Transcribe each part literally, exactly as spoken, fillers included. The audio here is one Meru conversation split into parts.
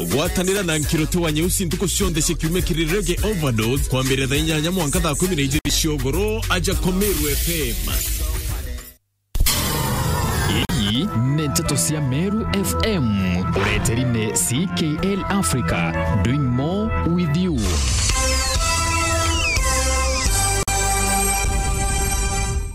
Gwatanira na Nkiruti wa Nyeusi ntuku cionthe cia kiumia kiri Reggae Overdose, kwambirira thaa inyanya mwanka thaa kumi na ijiri cia ugoro, aja kwa Meru F M. Ii ni nteto cia Meru F M, ureteri ni C K L Africa, doing more with you.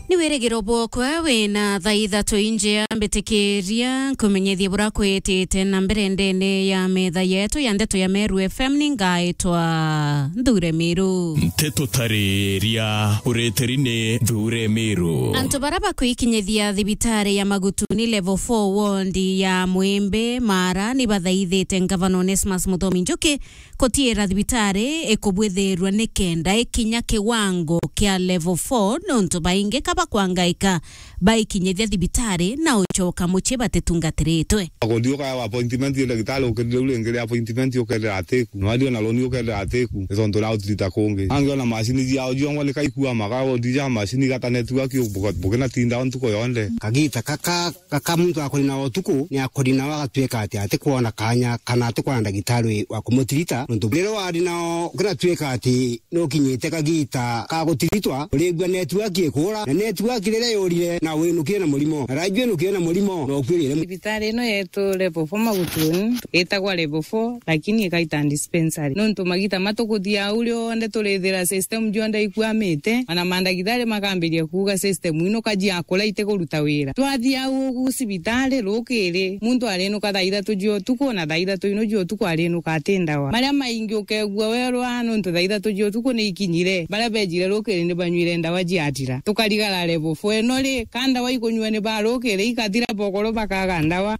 Ni wirigiro bwokwa wina thaa ithatu injea, mbitikiria nkumenyethie bura kwitite na mbere ndene ya metha yetu ya ndeto ya Meru F M. Ni ngaitwa Nthure Miru. Nteto tariria, ureteri ni Nthure Miru. Antu bara bakwikinyithia thibitari ya Magutuni level four ward ya Mwimbi Mara ni bathaithite ngavana Onesmus Muthomi Njuki kutiira thibitari ikubwithirua ni kenda ikinya kiwango kia level four, nontu baingi ka bakwangaika baikinyithia thibitari na ucoka mucii batitungatiritwe. Akuthiuka appointment ya ndagitari, ukirire u ringi ria appointment, ukerira atiku. Na wathii ona roni, ukerira atiku. Ni tontu ria utirita kungi. Angi ona macini ciao ciongwa ni kaikua maka, uthija macini igata network, buke-, bukinatinda o ntuku yonthe. Kagita kaka Gaka muntu akori nao utuku, ni akori nao agatuika ati atikwona kanya kana atikwona ndagitari wa kumutirita, nontu riria wari nao ukinatuika ati nukinyite kagita ka gutiritwa, urigua network ikura, na network riria yurire, na winukire na murimo, na raijua inukire na murimo, na ukwirire. Thibitari ino yetu level four Magutuni, itagwa level four, lakini ikaita dispensary. Nontu magita matukuthia au rionthe turithira system jonthe ikuamite, ona mandagitari makambiria kuuga system ino kaji akura itikuruta wira. Twathia au ugu cibitari rukiri, muntu arinuka thaa ithatu cia utuku, na thaa ithatu ino cia utuku arinuka ati ndawa. Maria maingi ukegua werwa, nontu thaa ithatu cia utuku ni ikinyire. Baria bejire rukiri ni banywire ndawa ciathira. Tukarigara level four ino ri, ka ndawa ikunyua ni ba rukiri ikathira, bokoro bakaga ndawa.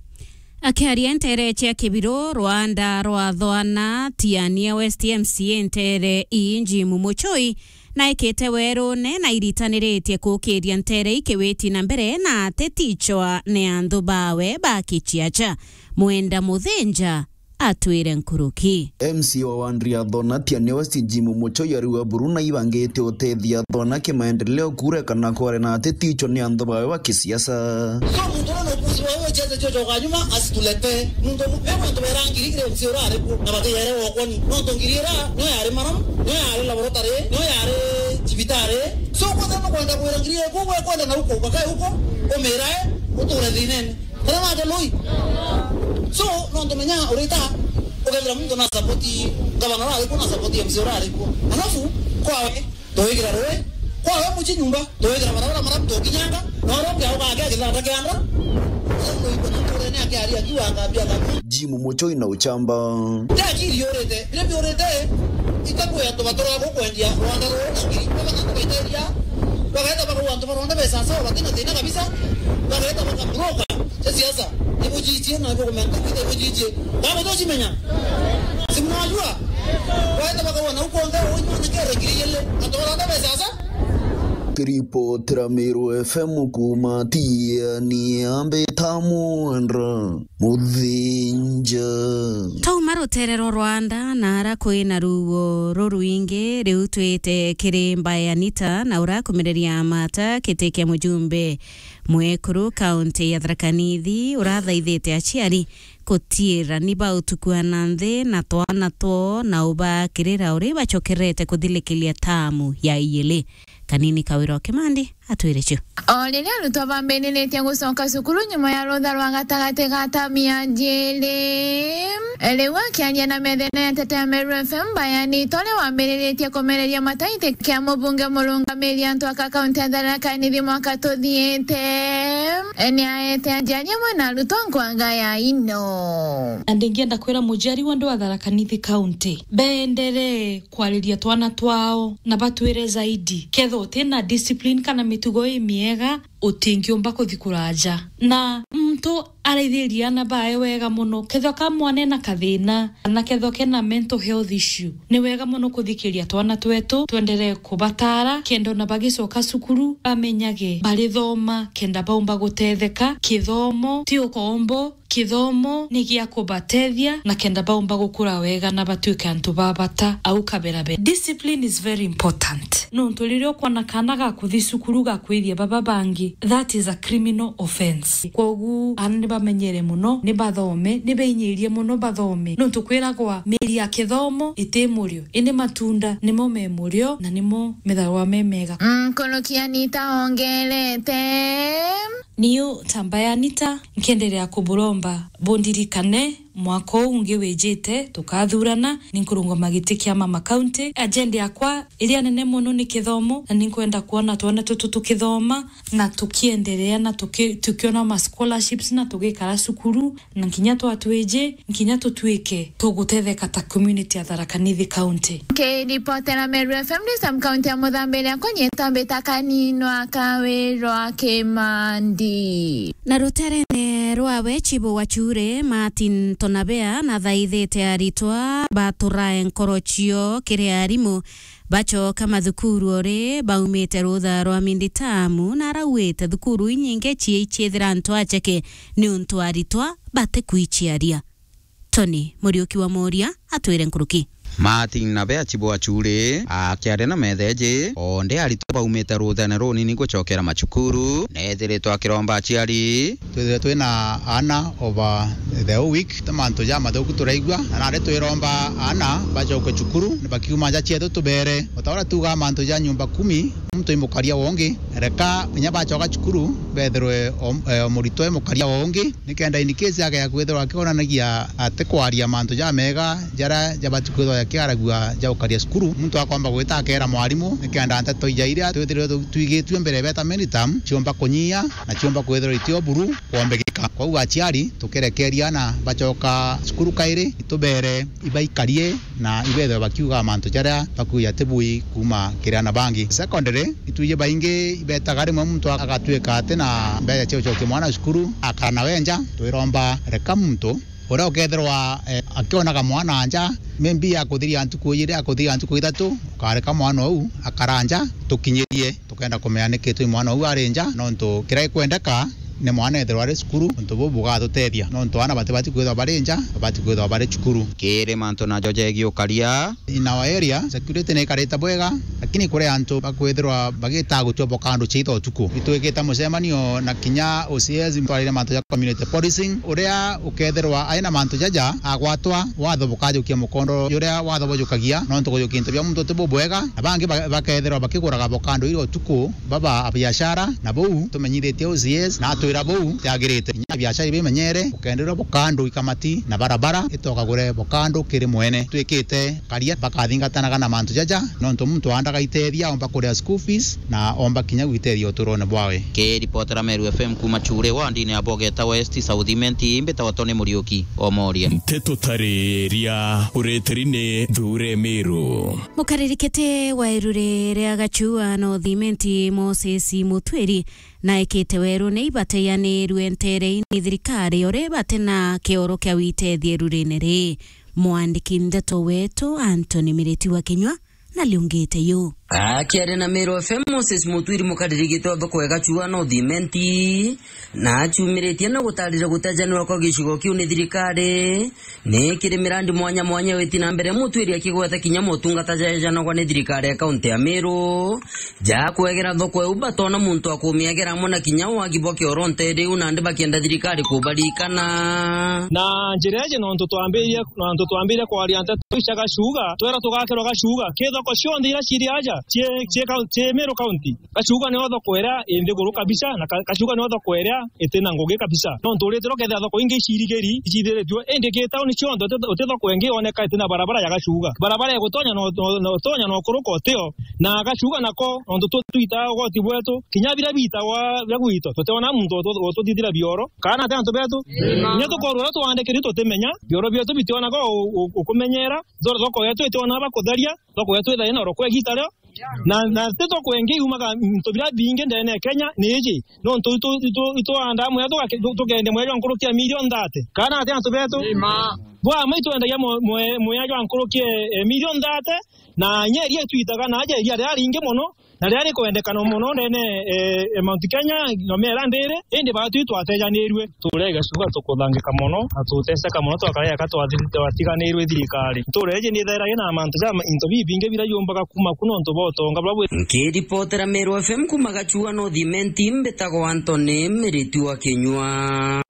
Akiaria ntere cia Kibiro, rwanda rwa Thwana, Tiania West M C A ntere ii Jim Muchoi, naikite werune na iritaniritie kukiria ntere ikiwiti na mbere na ateti icwa ni anthu bawe ba Kichiacha. Mwenda Muthinja atwire nkuruki. M C A wa ward ya Thona, Tiania West Jim Muchoi ariuga buru na ibangite utethia Thona kimaendeleo kure kana kware na ateti icwa ni anthu bawe ba kisiasa. So muntu uria nukusi wawe wechete cio coka nyuma asituletee. Muntu umu, me muntu berangiri kire M C A uria ari kuo, na batiyere wokoni. Nontu ngiri ira, niyo yari maramu, niyo yari laboratory, niyo yari cibitari. So kwothe nukwenda kwira ngiri ira, kuo gwe kwenda na uko, bakae uko, umirae, uture thinene. Kana naja lui? So, nontu menya urita, ukethira muntu na support, gavana uria ari kuo na support M C A uria ari kuo. Alafu, kwawe, tuwigira rui, kwawe muci nyumba, tuwigira barabara maramu tukinyanga, na uria ungi auga ake githanda kia nda, uria uikwa na nturene akiaria akiuga akambia akambia. Jim Muchoi na uchamba. Ti akiri yurite, biria biurite, itakuya tuba turago kwendia rwanda ruu na ngiri, baba na tubaiteria, bageta bakauga antu ba rwanda besa sawa, batina thina kabisa, bageta bakabroka. Cia siasa, ibujitie na ibukumenta kwita ibujitie. Baba tucimenya. Simwajua? Bageta bakauga na ukonde, unyone kere ngiri ile, antu ba rwanda besa sa. Kiripotera Meru F M kuuma Tiania, mbita Mwendwa Muthinja. Twauma rutere rwa Rwanda na ara kwina ruo rurwingi, riu twite kiri Mbae Anita na urakumireria mata kiti kia mujumbe mwekuru kaunti ya Tharaka Nithi urathaithite aciari kutiira ni bautukua na nthi na twana twoo na ubakirira uri bacokerete kuthilikiria tamu ya iili. Kanini Kawira wa Kimandi atwire cio. O riria arutwo bambiriritie gucoka cukuru nyuma ya rutha rwa gatagati ga tamu ya jiri, riu akiaria na methene ya Tete ya Meru F M, Mbae Anita uria wambiriritie kumereria mataiti kia mubunge murungamiri antu aka kaunti ya Tharaka Nithi mwaka tuthiite, ni aete aciari amwe na arutwo nkwaga ya ino. Na ndingienda kwira muciari wonthe wa Tharaka Nithi County, bendere kwariria twana twao na batwire zaidi. Kethira utina discipline kana mitugo imiega, utingiumba kuthi kuraja. Na muntu araithiria ana bae wega mono, kethira ka mwana ena kathina, kana kethira kena mental health issue, ni wega mono kuthikiria twana twetu, twenderee kubatara, kenda ona bagicoka cukuru, bamenyage barithoma, kenda baumba gutetheka. Kithomo ti ukombo, kithomo ni gia kubatethia na kenda baumba gukura wega na batuike antu ba bata au kabera be. Discipline is very important. Nontu riria ukwona kaana gakuthi cukuru gakwithia baba bangi, that is a criminal offence. Kwogu, aana ni bamenyere mono, ni bathome, ni beinyirie mono bathome. Nontu kwiragwa, miri ya kithomo iti murio, indi matunda nimo me murio na nimo methagwa me mega. Mm, Nkuruki Anita ongerete. Niu ta mbaya Anita, nkienderea kuburomba bundirikane mwaka uu ungi wijite, tukathurana, ninkurungama giti kia mama county. Agenda yakwa iria nene mono ni kithomo, na ninkwenda kwona twana tutu tukithoma na tukienderea na tuki-, tukiona ma scholarships na tugikara cukuru, na nkinya twatwiji, nkinya tutwike tugutetheka ta community ya Tharaka Nithi County. Nkiripotera Meru F M ni Sam County ya Muthambiria, kunyita mbita kaninwa kawirwa Kimandi. Na ruterene rwawe Chibu wa Chure, Martin Tonabea, nathaithite aritwa baturae nkoro cio kiri arimu bacoka mathukuru ori baumite rutha rwa minditamu, na arauite thukuru inyingi ciichithira antu acheke niuntu aritwa batikwichiaria. Tony Muriuki wa Moria atwire nkuruki. Martin Nabea Chibu wa Chure akiaria na metheji, onde aritwa baumite ruthene runini gucokera macukuru, nethiritwe akiromba aciari. Twithire twina aana over the whole week, ta mantu jamathuku turaigua, na nari twiromba aana bacoke cukuru, bakiuma nja cietu tubere. O ta uria tuugaa mantu ja nyumba kumi, muntu i mukaria wa ungi, reka kinya bacoka cukuru, bethirwe o, e, o muritwa i mukaria wa ungi, nikenda in case agea kwithirwa akionanagia atikwaria mantu jamega jaria jabati kwithirwa jakiaragua ja gukaria cukuru, muntu akomba gwita akeera mwarimu, nikenda nteto ija iria twithirwe tu-, twigitue mbere beta many term, ciomba kunyia na ciomba kwithirwa itio buru kwombegeka. Kwou aciari, tukirekeria aana bacoka cukuru kairi, itubere ibaikarie na ibethwe bakiuga mantu jaria bakuuja ti bui kuuma kiri aana bangi. Secondary, itwiji baingi ibetaga rimwe muntu agatwika ati na mbeca cia gucokia mwana cukuru, akara nawe nja. Twiromba reka muntu uria ukethirwa, eh, akionaga mwana nja, maybe akuthiria ntuku ijiri, akuthiria ntuku ithatu, ukareka mwana uu akara nja, tukinyirie. Tukenda kumenya niki twi mwana uu ari nja, nontu kiria gikwendeka ni mwana ethirwa ari cukuru, untu buu bugatutethia, nontu aana batibati kwithirwa bari nja, babati kwithirwa bari cukuru. Kiri mantu najo jegii ukaria. In our area, security ni ikarite bwega, lakini kuri antu bakwithirwa bagitaga gutua bokando ciitha utuku. Itwikite mucemanio na kinya O C S, twarire mantu ja community policing, uria ukethirwa aina mantu jaja agwatwa, watho bukajukia mukondo juria watho bujukagia, nontu gujukia into bia muntu ti bubwega, na bangi ba-, bakethirwa bakiguraga bokando iria utuku, baba a biashara, na buu tumenyithitie O C S, na atwira buu tiagirite. Kinya biashara ibimenyere, ukenderwa bokando ikamati na barabara, itokagure bokando kiri mwene. Twikite karia bakathingatanaga na mantu jaja, nontu muntu aandaga itethia, omba kuria school fees, na omba kinya gwitethia uturone bwawe. Kiripotera Meru F M kuuma Chure, wandini ya Bogeta West, South Imenti, mbitagwa Tony Muriuki, Omoria. Nteto tariria ureteri ni Thure Meru. Mukaririkiti wa iruri ria Gachua North Imenti, Moses Mutwiri, naikite weru ni ibateyaniirue nteere-ini thirikari ori bati na kioro kia witethia irurine ri. Mwandiki ndeto wetu Anthony Miriti wa Kinyua na liungite yu. Akiaria na Meru F M, Moses Mutwiri, mukaririkiti wa thoko ya Gachua North Imenti, na achumiritie na gutarira gutejanirwa kwa gicigo kiu ni thirikari, ni kiri mirandi mwanya mwanya witi na mbere, Mutwiri akigweta kinya motungata jaejanagwa ni thirikari ya kaunti ya Meru, ja kwegera thoko iu batona muntu akumiegera amwe na kinya wagi bwa kioro nteere iu, nandi bakienda thirikari kubarikana. Na njira iji nontu twambirie, nontu twambirie kwaria nteto iu cia Gachuga, twera tugakirwa Gachuga, ki thoko cionthe iria ciri aja, cii, cii kau-, cii Meru County. Gachuga nio thoko iria i nthiguru kabisa, na ka-, Gachuga nio thoko iria iti na ngugi kabisa. Nontu uritirwa ukethira thoko ingi icirigiri, icithiritue, indi ki tauni cionthe uti, uti thoko ingi yoneka iti na barabara ya Gachuga. Barabara igutonya no, no, no, utonya no kuruka utio, na Gachuga nako, nontu tu-, twitaa ugoti bwetu, kinya biria biitagwa bia gwitu, tutiona muntu utu-, ututhithira bioro, kana ati antu betu. Amen. Kinya tukorwa uria twandikiri tutimenya, bioro bietu bitionaga u-, u-, ukumenyera, thoko yetu itionaga bakutheria, thoko yetu ithaina oro kwa igiita rio, Na, na ti thoko ingi yumaga into biria bingi ndene ya Kenya ni iji. Nontu itu, itu, itwandaa mwea tugake-, tu-, tukeendia mwea jwa nkuruki ya milioni thate. Kana ati antu betu? Ima. Bwa ma itwendagia mwe-, mwe-, mwea jwa nkuruki, eh, milioni thate, na inya iria itwitaga na aja iria riria ringi mono, na riria rikwendekana mono ndene, eh, eh, Mount Kenya, nyomera ndiri, indi baatwi twatejanirue. Ntuura ya Gachuga tukuthangika mono, na tuteseka mono, twakara eka twathi-, twatiganirwe i thirikari. Ntuura iji ni ithaira ina mantu ja ma-, into bibingi biria yumbaga kuuma ku nontu bwa utonga buria bwi. Nkiripotera Meru F M kuuma Gachuga North Imenti, mbitagwa Anthony Miriti wa Kinyua.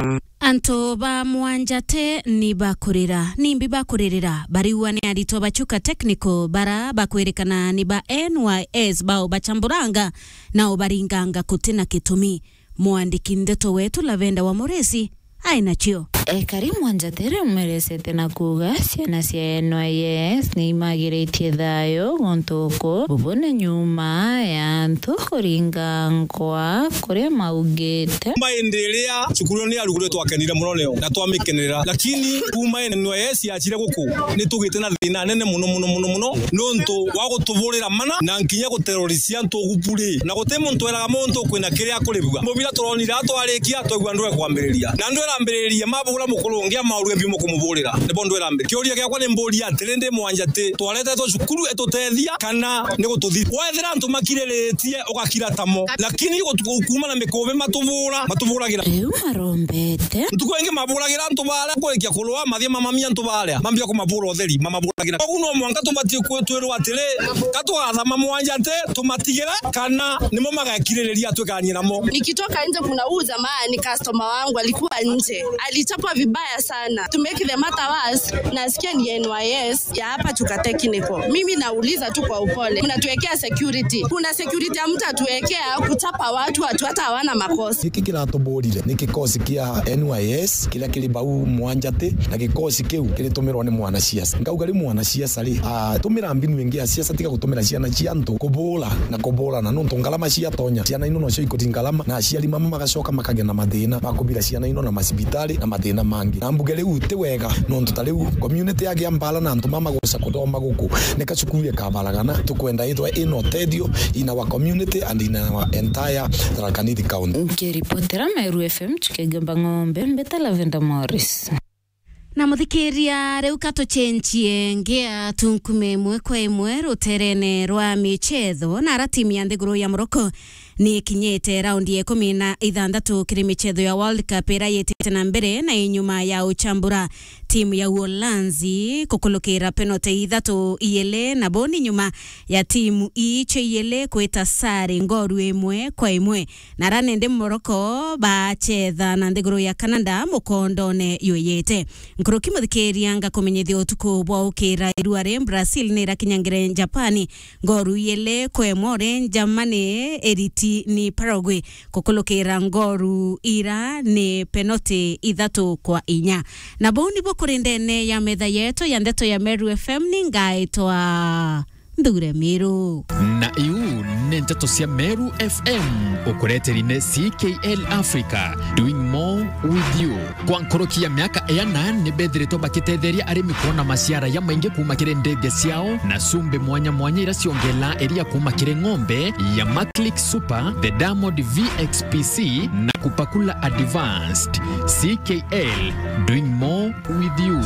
Antu ba Mwanjate ni bakurira, nimbi bakuririra? Bariua ni aritwa ba Chuka Technical bara bakwirikana ni ba N Y S bao bachamburanga na ubaringanga kutina kitumi. Mwandiki ndeto wetu Lavenda wa Muresi ai nacio. Ekari Mwanjate riu merecete na kuuga ciana cia N Y S ni imagiritie thayo guntu uku bubu ni nyuma ya antu kuringangwa kuria maugite. Kuma indi iria cukuru ni yarugurwe twakenire muno nio na twamikenera, lakini kuma N Y S yachire guku ni tugite na thina nene muno muno muno muno, nontu wa gutuburira mana na nkinya guterorisia antu ugu buri, na guti muntu eraga muntu kwina kiria akuribua. Mubira turonire atwarikia, twaigua ndwe kwambiriria, na ndwe irambiririe mabura mukuru ungi amaurue biu mukumuburira, nibo ndwe irambiririe. Kiuria giakwa ni mburia atiri, ndi Mwanjate twaretetwe cukuru itutethia kana ni gututhi? Wethira antu makiriritie, ugakira tamo, lakini gutu-, kuma na mikubi matubura, matuburagira. Riu marombete. Ntuku ingi maburagira antu baria, kurikia kurua, mathie mamamia antu baria, mambia kumabura utheri, mamaburagira. Koguo no mwanka tubatie kwitwirwa atiri, ka tugathama Mwanjate, tumatigire, kana nimo magakiririria twikanie namo. Nikitoka nje, kuna huyu jamaa ni customer wangu, alikuwa nje, alichapwa vibaya sana. To make the matter worse, nasikia ni N Y S ya hapa Chuka Technical. Mimi nauliza tu kwa upole, mnatuwekea security? Kuna security hamtatuwekea kuchapa watu, watu hata hawana makosa. Giki kiratuburire ni kikosi kia N Y S kiria kiri bau Mwanjate, na gikosi kiu kiritumirwa ni mwanasiasa. Nkauga ri mwanasiasa ri, atumira mbinu ingi ya siasa tiga gutumira ciana cia antu kubura na kuburana, nontu ngarama ciatonya, ciana ino nocio ikuthi ngarama, na aciari mama magacoka makagia na mathina ma kubira ciana ino na macibitari na mathina mangi. Na mbuge riu ti wega, nontu ta riu community yagia mbara na antu mama guca kuthoma guku, ni ka cukuru ikabaragana. Tukwenda ithwe ina utethio in our community and in our entire Tharaka Nithi County. Nkiripotera Meru F M, Chuka Igamba Ng'ombe, mbeta Lavenda Morris. Na muthikiria, riu ka tucenjie ngia tunkume imwe kwa imwe ruterene rwa michetho, na ara timu ya nthiguru ya Morocco ni ikinyite raundi ya ikumi na ithanthatu kiri michetho ya World Cup ira yitite na mbere, na inyuma ya uchambura timu ya Uholanzi kukulukira penalty ithatu iili, na bo ni nyuma ya timu iicio iili kwita sare ngoru imwe kwa imwe. Na ara nende Morocco bachetha na nthiguru ya Canada mukondone yuyite. Nkuruki muthikiria, ngakumenyithia utuku bwa ukira irua ri Brazil ni irakinyangire Japani ngoru iili kwa imwe, uri Germany iriti ni Paraguay kukulukira ngoru ira ni penalty ithatu kwa inya. Na bau nibo kuri ndene ya metha yetu ya ndeto ya Meru F M, ni ngaitwa Nthure Miru. Na iu ni nteto cia Meru F M, ukureteri ni C K L Africa, doing more with you. Kwa nkuruki ya miaka iana, ni bethiritwe bakitetheria arimi kuona maciara ya maingi kuuma kiri ndege ciao na cumbi mwanya mwanya ira ciongelaa iria kuuma kiri ng'ombe ya Maclick Super, the Diamond V X P C na Kupakula Advanced. C K L, doing more with you.